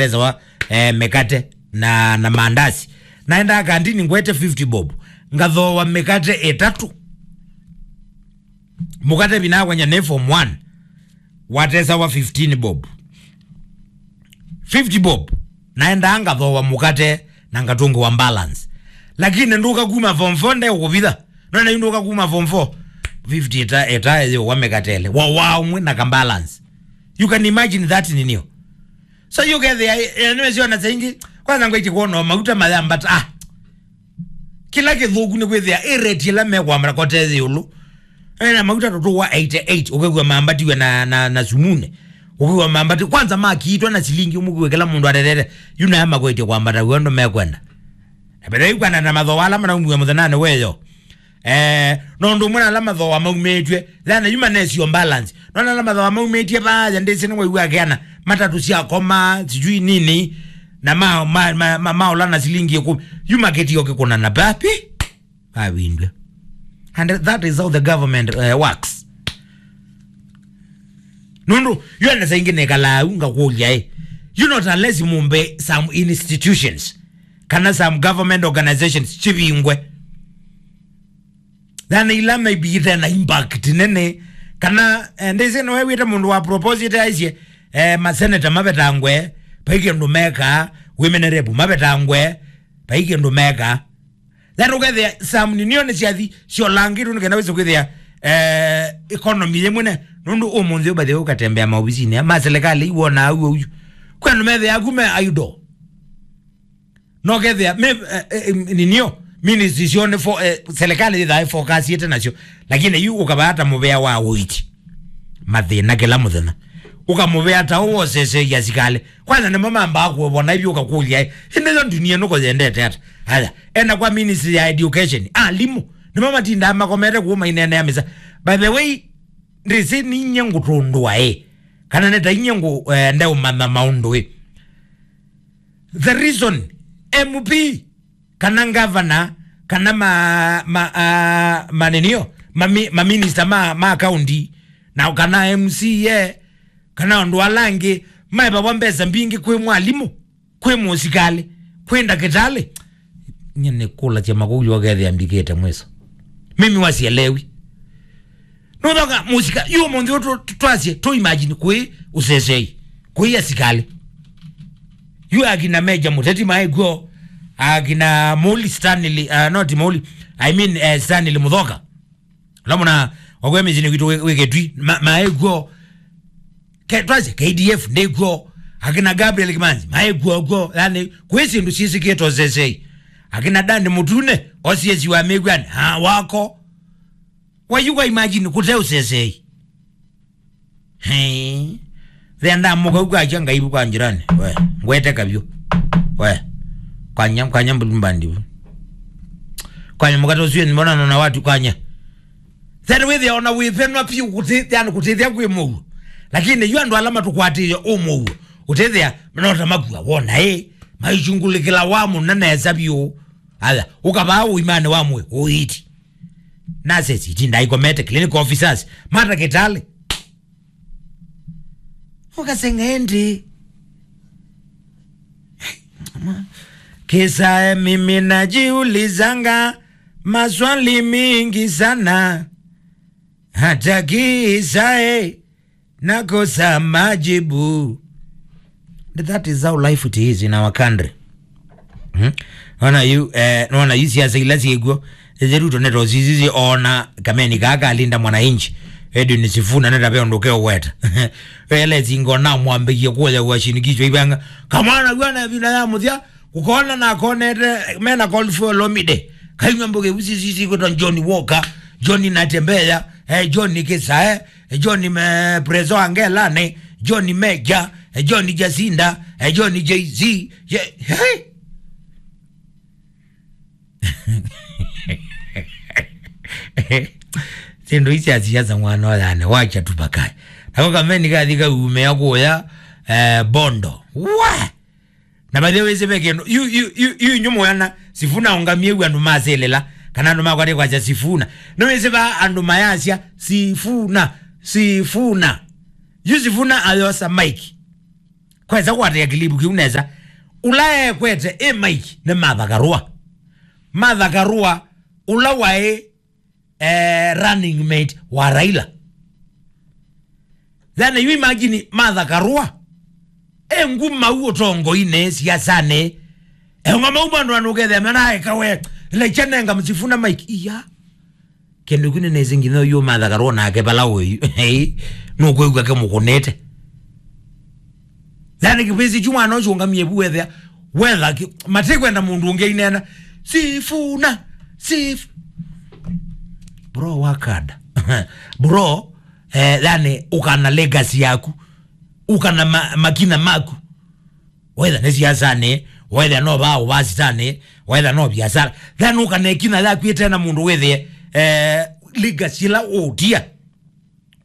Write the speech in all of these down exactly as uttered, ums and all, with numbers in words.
Tesawa, eh, mĩkate na, na mandasi. Naendaa kandini ngwete fifty bob. Ngathooa mĩkate ĩtatũ. Mũkate vinakwanya nĩ form one. Watesawa fifteen bob. Fifty bob. Naendaa ngathooa mũkate na ngatũngĩwa balance. Lakini ndũka kuma form four nde ũkũvitha. Nona yu ndũka kuma form four. Fifty ĩta, ĩta yo wa mĩkate ĩlĩ. Wa, wa ũmwe na ka balance. You can imagine that ninio. So yũkethĩa, eh, nĩwesiona saingĩ, kwanza ngwĩtye kuona mauta mayambata, ah. Kĩla kĩthũku nĩ kwĩthĩa, ĩ rate ĩla mekwambata kote ĩũlũ. Ena mauta tũtũ wa eighty eight, ũkĩw'a mambatiwe na, na, na sumune. Ũkĩw'a mambati, kwanza makiitwa na silingi ũmũkiwe kĩla mũndũ atetete, yu naya makwĩtye kwambata w'o ndo mekwenda. Na mbere yu kwenda na mathoa ala manaumiwe mũthenyanĩ weyo. Eh, no ũndũ ũmwe na ala mathoa maumĩtw'e, thana yu manesio balance. No na ala mathoa maumĩtye vaya ndĩsĩ nĩ waigua akeana matatũ sya koma, sijui nini, na ma, ma, ma, ma, maola na silingi ĩkũmi. Yu makĩtio kĩkũna na papi, vavindwe. And that is how the government, eh, works. Nũndũ, yu ene saingĩ nĩkalaa u ngakũlya ĩ. You not unless mumbe some institutions, kana some government organizations, chivingwe. Thana ila maybe ite na impact nene. Kana, eh, ndĩsĩ nĩwe wĩte mũndũ wa proposite aisye, eh, maseneta mavetangwe, vai kĩndũ meka, women rep mavetangwe, vai kĩndũ meka. Thana ũkethĩa some ninio nĩ syathi syolangĩtwe nĩ kenda wĩse kwĩthĩa, eh, economy yĩmwe ne, nũndũ ũmũnthĩ ũbathĩ ũkatembea maovisinĩ ma serikali iwona au ũyu. Kwĩ andũ methĩa aku me idle. No kethĩa, me, eh, eh, ninio, ministry syo nĩ fo-, eh, serikali yĩthaa ĩfokasiĩte nasyo. Lakini yu ũkavata mũvea wa ũiti. Mathĩna kĩla mũthenya. Ũkamũvea ta ũũ wosesei asikalĩ. Kwanza nĩmo mambaa kũvona ivyo ũkakũlya, ĩ, ĩndĩ yo dunia nũko yendete ata? Aya, ena kwa ministry ya education. Alimũ. Nĩmo matindaa makomete kũu maineenea mĩsa. By the way, ndĩsĩ ninyie ngũtũndũa, ĩ. Kana nĩ ta inyie ngũ, eh, ndeũmanya maũndũ, ĩ. The reason M P kana ngavana, kana ma, ma, a, manenio, mami-, maminista ma, ma kaunti, na kana M C A, kana andũ ala angĩ, maevawa mbesa mbingĩ kwĩ mwalimũ, kwĩ mũsikalĩ, kwĩ ndakĩtalĩ. Nye nĩ kũlasya makũlyo ũkethĩa mbikĩte mwiso. Mimi wasielewi. Nũthoka mũsika, yu ũmũnthĩ ũtũ twasye, tũ imagine kwĩ ũsesei, kwĩ asikalĩ. Yu akina Meja Mũteti maĩ kw'o, akina Muli Stanley, uh, not Muli, I mean, eh, Stanley Mũthoka. Ũla mũna, wakwe mĩsyĩnĩ kwitũ wĩ, wĩ Kĩtui, ma-, maĩ kw'o. Ke-, twasye, K D F ndĩ kw'o, akina Gabriel Kimanzi, maĩ kw'o kw'o, yani, kwĩ syĩndũ syĩsĩkĩte ũsesei. Akina Dani Mũtune, O C S wa Mĩw'anĩ, ah, wako. Wayuka imagine kũte ũsesei. He. Thenda mũka uka acha ngaibu kwa jirani. We, ngwete kabyo. We. Kwanya, kwanya mbulumbandi. Kwanya mũkate ũcio mbona naona watu kwanya. Thenda wĩthĩa ona wĩvenwa piũ kũte, yani kũtethĩa kwĩ mũuo. Lakini yu andũ ala matũkwatĩĩe ũmũuo. Ũtethĩa manota makua wona ĩ. Maichungulĩkĩla wa mũna nesa biũ. Aya, ũkavaa ũimanĩ wa mwĩ, ũiti. Nurses itinda ikomete, clinical officers, matakĩtalĩ. Ũkasenga ĩndĩ. Kisae, mimi najiulizanga maswali mingi sana. Hata kisae nakosa majibu. That is how life it is in our country. Hmm? Nona yu, eh, nona yu siasa ila syĩkw'o. Ĩthe Ruto neto sisisi ona kameni kaa kalinda mwananchi. Edwin Sifuna neta ve ũndũ keũweta. Wele singo na mwambĩkie kuoya wa shinikizo ibanga. Kamwana wana vina ya mũthya, kũkona na akonete, mena call for Olomide. Kainywa mboge usisisi kwĩtwa John Walker, John Natembeya, eh, John Kisae, eh, John me-, Prezo Angelane, John Meja, eh, John Jacinda, eh, John Jay-Z, ye-, hey! Syĩndũ ici asiasa mwana oyane, wacha tu vakae. Nako kameni kathi kaumĩa kũya, eh, Bondo. Wa! Na by the way, wĩsĩ ve kĩndũ, yu, yu, yu, yu inyu mũyana, Sifuna ũngamie yu andũ masĩlĩla, kana andũ makwatĩe kwasya Sifuna. Nĩwĩsĩ va andũ mayasya, Sifuna, Sifuna. Yu Sifuna ayosa mic. Kwesa kwatĩa kilivu kĩu nesa. Ũla ekwete ĩ Mike nĩ Martha Karua. Martha Karua, ũla waĩ, eh, running mate wa Raila. Then you imagine Martha Karua e ngumau ũtongoinĩ, siasanĩ. Eonga mau andũ anũkethĩa mena eka we, lecha nenga msifuna Mike. Iya. Kĩndũ kĩu nĩnĩsĩ nginya ũyũ Martha Karua nake vala ũĩ. Hei, nũkwĩw'a kĩmũkũnĩte. Yani kĩvĩsĩ kyu mwana ũcio ũngamie vu wethĩa. Wetha kĩ-, matikwenda mũndũ ũngĩ ainena. Sifuna, sif-, bro, wakada. Bro, eh, yani ũkana legacy yaku. Ũkana ma-, makina maku. Whether nĩ siasanĩ, whether no vaa ũvasitanĩ, whether no biasara. Then ũkanekina yaku ĩte na mũndũ wĩthĩe, eh, legacy ĩla ũtia.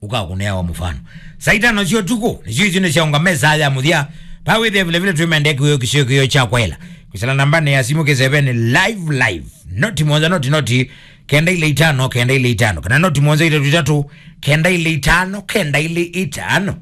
Ũkakũneawa mũfano. Saa itano sya ũtukũ, nĩsyo isu nĩ syaũngama saa ya mũthya. Pa wĩthĩa vile vile twĩmendea kĩwĩo kĩsio kĩwĩo kya kwaĩla. Kwĩsĩla nambanĩ ya simũ kĩseveni live, live. Noti mũonza, noti, noti, kenda ile itano, kenda ile itano. Kana noti mũonza itatu itatu, kenda ile itano, kenda ile itano.